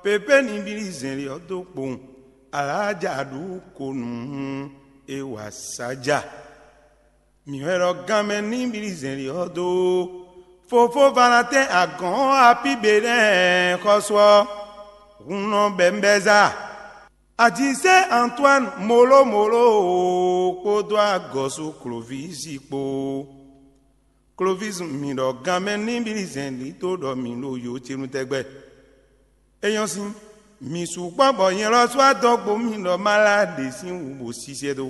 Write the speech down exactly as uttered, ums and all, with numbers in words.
Pépé ní blí zɛ̌nlí ɔ́ dó kpowun, alǎ ja ɖu ko nǔ hún é wa sá ja. Mǐ wɛ ɖɔ ganmɛ ní blí zɛ̌nlí ɔ́ dó. Fofó Valatɛ́n agɔ̌n apíbe nɛ́ xɔ́sú ɔ́, hun nɔ bɛ̌ bɛ́ zá. Adisɛ́ Antoine Moló Moló kpódó agɔ̌sú Klovísi kpó. Klovísi, mǐ ɖɔ ganmɛ ní blí zɛ̌nlí dó ɖɔ mǐ ɖo yo ce nu tɛgbɛ. É nyɔ́ sín, mǐ sukpɔ́ bɔ nyɛ lɔ sú adɔgbo mì ɖɔ má lá ɖě sín wǔ bó sísɛ́ dó.